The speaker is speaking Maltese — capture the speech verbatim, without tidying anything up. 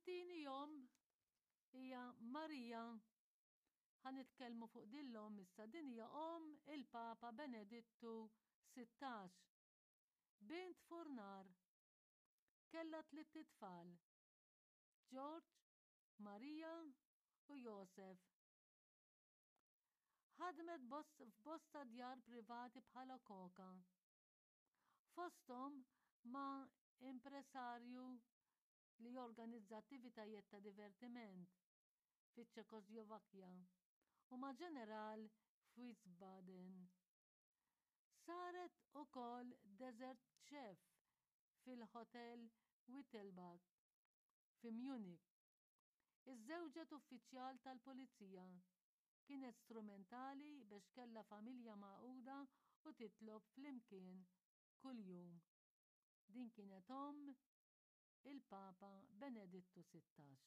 It-tieni omm hija Marija. Ħa nitkellmu fuq din l-omm issa. Din hija omm il-Papa Benedittu Sittax. Bint furnar. Kellha tliet itfal. George, Marija u Josef. Ħadmet f'bosta djar privati bħala koka. Fosthom ma' impresarju li jorganizza attivitajiet ta' divertiment fiċ-Ċekoslovakkja u ma' ġeneral f'Wiesbaden. Saret ukoll dessert chef fil-Hotel Wittelbach fi Munich. Iżżewġet uffiċjal tal-pulizija. Kienet strumentali biex kellha familja magħquda u titlob flimkien kuljum. Din kienet omm il-Papa Benedittu Sittax.